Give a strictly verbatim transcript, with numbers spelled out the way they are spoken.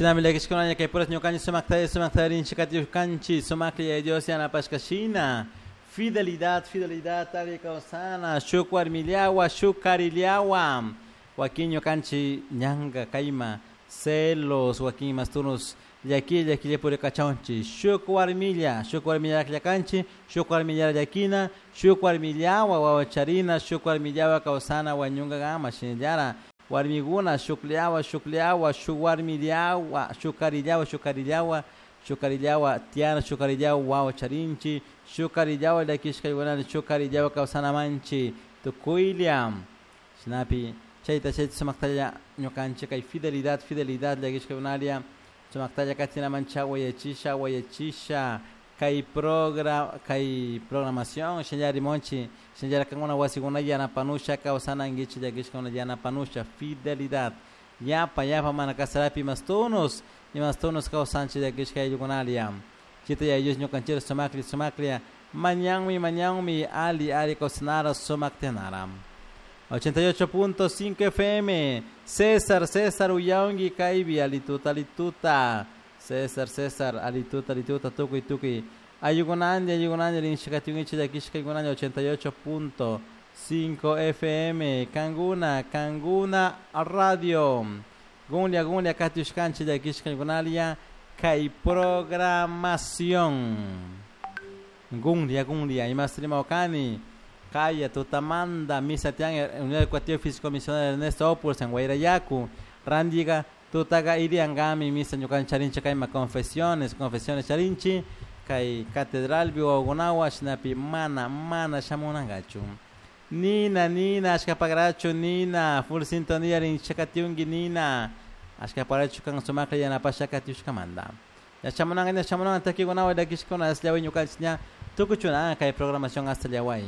Shinami llakishkunalla kay puras ñukanchik sumaktalla sumaktalla rinchik katiushkanchik sumaklla Yaya Dios yanapashkashina fidelidad fidelidad alli kawsana shuk warmillawa shuk karillawa wakin ñukanchik ñanka kayma celos wakin mastunus llakilla llakilla purikachawchik shuk warmilla shuk warmilla akllakanchik shuk warmilla llakina shuk warmillawa wawa charina shuk warmillawa kawsana wañunkakama shinallara warmikuna shukllawa shukllawa shuk warmillawa shuk karillawa shuk karillawa shuk karillawa tiyana shuk karillawa wawa charinchik shuk karillawa llakishkaykunata shuk karillawa kawsanamanchik tukuylla shinapi chayta chayta sumaktalla ñukanchik kay fidelidad fidelidad llakishkaykunalla sumaktalla katinamancha wayachisha wayachisha kay progra kay programación shinallari monchi shinallara kankuna wasikuna yanapanusha kawsanankichik llakishkakuna yanapanusha fidelidad yapa yapa mana kasarapi imastunus imastunus kawsanchik llakishka ayllukunalla chayta Yaya Dios ñukanchikta sumaklla sumaklla mañanmi mañanmi ali ali kawsanara sumaktinara ochenta y ocho punto cinco F M César César uyaunki kaypi alituta alituta César César alituta alituta tukuy tukuy ayukunandi ayukunandi rinchikatiunkichik llakishkaykunandi ochenta y ocho punto cinco F M Kanguna Kanguna Radio Gunlia Gunlia katiushkanchik llakishkaykunalla kay programación Gunlia Gunlia imas rimawkani Kaya tutamanda misa tian Unidad Educativa Físico Misionera Ernesto Opus en Guairayacu Randiga tutaga iriangami misa ñukan charinchi kayma confesiones confesiones charinchi kay catedral biwakunawa shinapi mana mana shamunankachu Nina Nina ashkapagrachu Nina full sintonía rinchakatiunki Nina ashkaparachu kan sumaklla yanapasha katiushkamanta Yachamunanka yachamunanka takikunawa llakishkuna asllawi ñukanchik ña tukuchuna kay programación hasta llaway.